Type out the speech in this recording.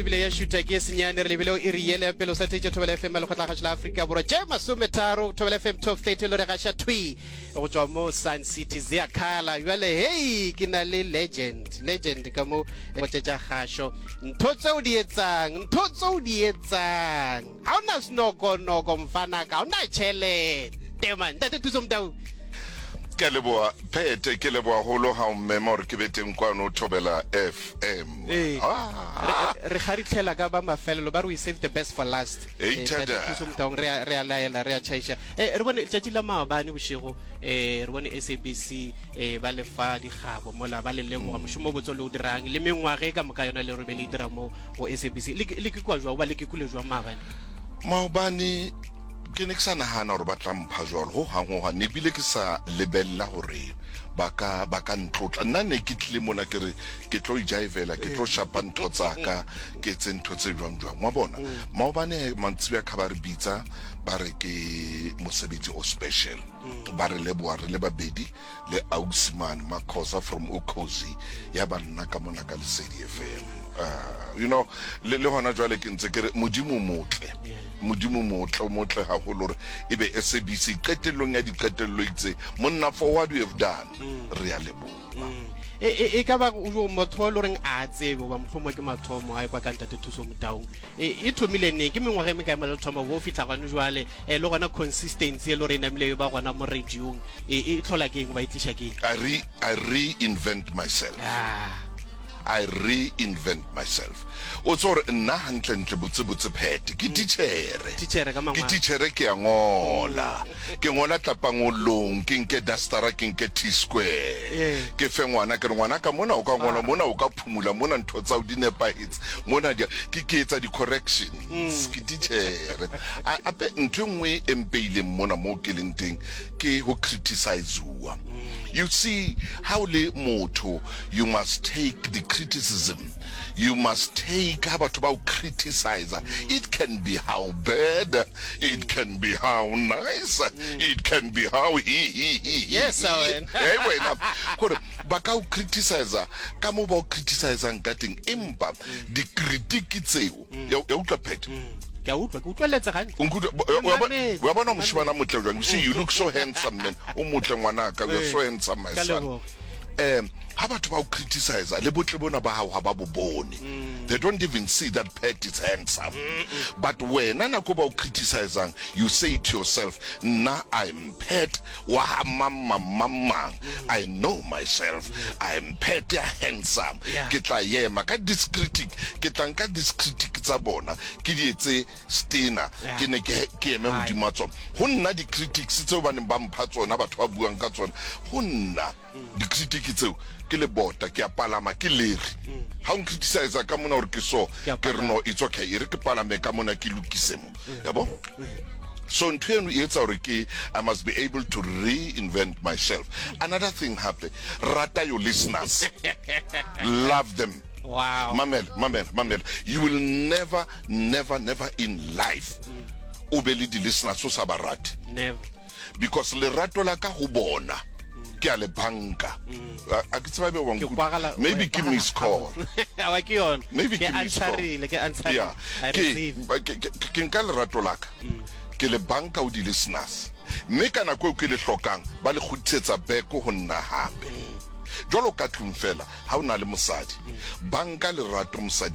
ebile ya šutha ke senyane re lebile o iri yele ya pele o sa theetše Thobela FM ya Lekgotlakgašo la Afrika Borwa tše masometharo Thobela FM Top 30 lo re gaša thwi go tšwa mo Sun City Ziakhala bjale hei ke na le legend legend ka mo go tšetša kgašo ntho tse o di etsang ntho tse o di etsang ga o na senokonoko mfanaka ga o na tšhelete man ntate Thuso Motau Ke a leboa Pete, ke leboa golo ga o mmema gore ke be teng kwano Thobela FM. Ee, Ah. re, re kgaritlhela ka ba mafelelo ba re we save the best for last. Ei, Eh, Ntate thada. Thuso Motaung re a re a laela re a tšhaiša. Eh, re bone letšatši la maabane bošego eh, re bone SABC eh, ba le fa dikgabo mola ba le leboga mošomo o botse o le o dirang le mengwaga e ka moka yona le re be le e dira mo go SABC. Le ke- le ke kwa jwang goba le ke kule jwang maabane? Maobane Ke ne ke sa nagana gore ba tla mpha jwalo ho hang ho hang, ne bile ke sa lebelela gore ba ka ba ka ntlotla. Nna ne ke tlile mona ke re ke tlo ijaivela, ke tlo shapa ntho tsa ka, ke etse ntho tse jwang jwang. Wa bona, maobane mantsiboya ka ba re bitsa ba re ke mosebetsi o special, ba re leboha re le babedi le ausi mane Makhosa from Ukhozi ya ba nna ka mona ka Lesedi FM. Uh, you know, le, le hona jwale ke ntse ke re Modimo o motle. Modimo o motle, o motle haholo hore e be SABC qetellong ya diqetello itse monna for what you have done. Re a leboha. E, e, e ka ba o motho o e le goreng a tsebe goba mohlomongwe ke mathomo a ekwa ka ntate Thuso Motaung. E, e thomile neng? Ke mengwaga e mekae mola le thoma go fihla gone jwale? E, le gona consistency e le gore e namile e ba gona mo radiong e, e hlola ke eng goba e tliša ke eng? I re, I reinvent myself. Ah. I reinvent myself. O tseba gore nna hantlentle botsebotse Pat, ke titjhere. Titjhere ka Ke mangwalo. titjhere ke a ngola. Ke ngola tlapangolong, ke nke dustera, ke nke T-square. Ee. Ke fe ngwana, ke re ngwanaka mona o ka ngola, mona o ka phumula, mona ntho tsa hao di nepahetse, mona di, ke, ke etsa di-corrections. Ke titjhere. A, ape ntho e nngwe e mpeileng mona moo ke leng teng ke ho criticize-uwa. You see, ha o le motho, you must take the criticism. You must take ha batho ba o criticize. It can be how bad, it can be how nice, it can be how he he he he. Yes, he. wena. Hey wena, gore ba ka o criticize ka mo ba o criticizang ka teng, empa di-critique tseo, ya ya utlwa Pat? Ke a utlwa, ke utlweletse gantle. O nkutlwa- bo- wa- wa- wa bona moshemane a motle jwang? You see, you look so handsome, man. O motle ngwanaka, you are so handsome, my Ka son. leboga. Um ha batho ba o criticize le botle bona ba hao ha ba bo bone. They don't even see that Pat is handsome. But wena nako ba o criticizang, you say to yourself, nna I'm Pat wa ha mang mang mang mang. I know myself. I'm Pat ya handsome. Yeah. Ke tla ema ka this critic, ke tla nka this critic tsa bona ke di etse stena, Yeah. ke ne ke ke eme Hai. hodima tsona. Ho nna di-critics tseo ba neng ba mpha tsona, batho ba buang ka tsona, ho nna di-critic tseo ke lebota, ke a palama ke leri. Ha o ncriticize ka mona hore ke so, Ke a ke re palama. no, it's okay, e re ke palame ka mona ke lokise mo. Yabo? So ntho eno e etsa hore ke I must be able to reinvent myself. Another thing hape, rata your listeners. Love them. Wow. Mamela, mamela, mamela. You will never, never, never in life o be le di-listeners o sa ba rate. Never. Because lerato la ka ho bona ke a le banka. A a ke tseba ebe wa Ke nkutlwa. kwagala Maybe ke miss call. Awa ke yona. Maybe Ke ke miss call. answerile, ke answerile. Yeah. I Ke receive. ke ke ke nka lerato la ka. Ke le banka ho di-listeners. Mme ka nako eo ke le hlokang ba le kgutlisetsa back ho nna hape. Jwalo ka tlung fela ha o na le mosadi, banka lerato mosadi.